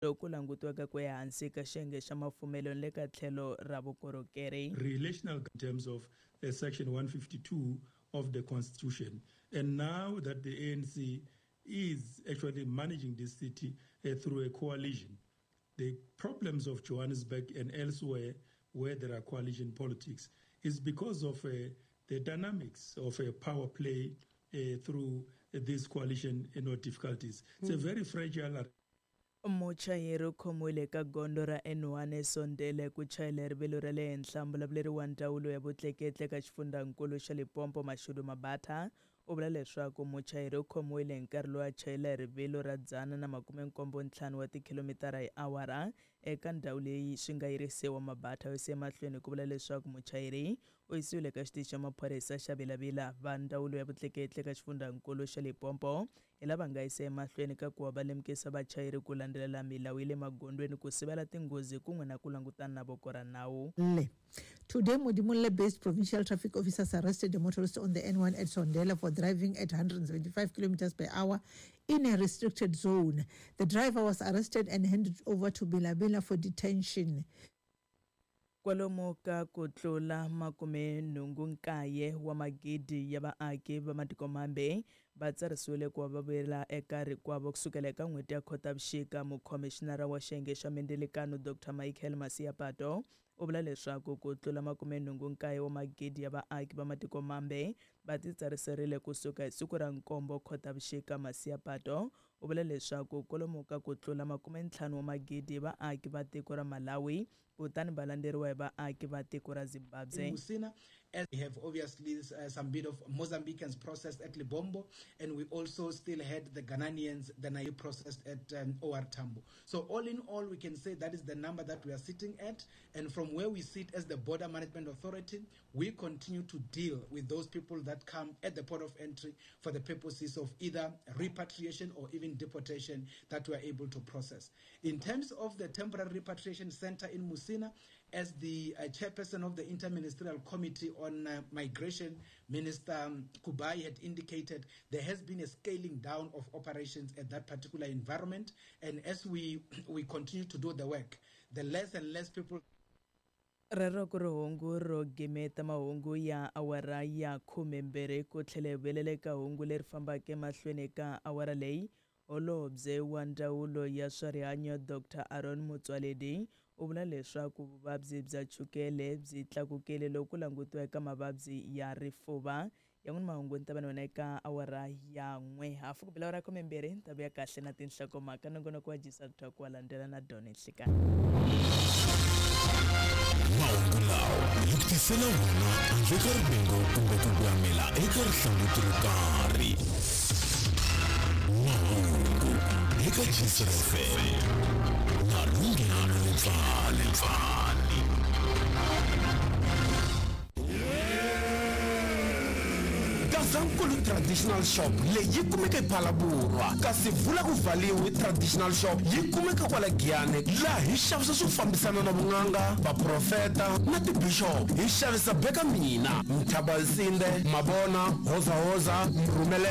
Loku langutiwaka ku ehansi ka xiyenge xa mafumelo ni le ka tlhelo ra vukorhokeri. Relational in terms of section 152 of the constitution, and now that the ANC is actually managing this city through a coalition, the problems of Johannesburg and elsewhere where there are coalition politics is because of the dynamics of a power play through this coalition, difficulties. It's a very fragile. Muchayeri u khomiwile eka gondzo ra N1 eSondele ku chayela rivilo ra le henhla. Mbulavuleri wa ndzawulo ya vutleketli eka xifundzankulu xa Limpopo, Mashudu Mabatha, u vula leswaku muchayeri u khomiwile hi nkarhi lowu a chayela hi rivilo ra 175 wa tikhilomitara hi awara eka ndhawu leyi swi nga yirisiwa. Mabatha u yise emahlweni ku vula leswaku muchayeri u yisiwile eka xitichi xa maphorisa xa Vilavila. Va ndzawulo ya vutleketli eka xifundzankulu xa Limpopo hi lava nga yisa emahlweni ka ku va va lemukisa vachayeri ku landzelela milawu ya le magondzweni ku sivela tinghozi kun'we na ku langutana na voko ra nawu. Today, Modimolle-based provincial traffic officers arrested a motorist on the N1 at Sondela for driving at 175 kilometers per hour in a restricted zone. The driver was arrested and handed over to Bilabila for detention. Kwalomu ka ku tlula 89 wa magidi ya vaaki va matiko mambe va tsarisiwile ku va va vuyela eka rikwavo kusukela eka n'hweti ya Khotavuxika. Mukhomixinara wa xiyenge xa mindzilikano Dr Michael Masiapato u vula leswaku ku tlula 89 wa magidi ya vaaki va matiko mambe va titsariserile kusuka hi siku ra 7 Khotavuxika. Masiapato u vula leswaku kwalomu ka ku tlula 50 wa magidi vaaki va tiko ra Malawi kutani va landzeriwa hi vaaki va tiko ra Zimbabwe. Musina, as we have obviously some bit of Mozambicans processed at Lebombo, and we also still had the Ghanaians, the Nai processed at OR Tambo. So all in all, we can say that is the number that we are sitting at, and from where we sit as the Border Management Authority, we continue to deal with those people that come at the port of entry for the purposes of either repatriation or even deportation that we are able to process. In terms of the temporary repatriation center in Musina, as the chairperson of the Interministerial Committee on Migration, Minister Kubayi had indicated there has been a scaling down of operations at that particular environment. And as we continue to do the work, the less and less people. Rero ku ri hungu ro gimeta mahungu ya awara ya 12 ku tlhela hi vuyelela eka hungu leri fambaka emahlweni ka awara leyi. Holobye wa ndzawulo ya swa rihanyo Dr Aaron Motsoaledi u vula leswaku vuvabyi bya chukele byi tlakukile loko ku langutiwa eka mavabyi ya rifuva. Yan'wana mahungu ni ta va na wena eka awara ya 1 hafu ku bela awara ya 12 ni ta vuya kahle na tinhlokomhaka. Nongonoko wa Jisa Talk wa landzela na Donny Nhlikani. Mahungu lawa hi ku tisela wona handle ka rivengo kumbe ku voyamela eka rihlanguti ro karhi. Mahungu eka Gistr FM na Lunghelo Letswali. Gazankulu Traditional Shop leyi yi kumeka ePhalaborwa, kasi Vula ku Valiwe Traditional Shop yi kumeka kwala Giyani, laha hi xavisa swo fambisana na vun'anga, vaprofeta na tibishop. Hi xavisa beka mina, Mthabalsinde, Mabona, Hozahoza, Mrhumele.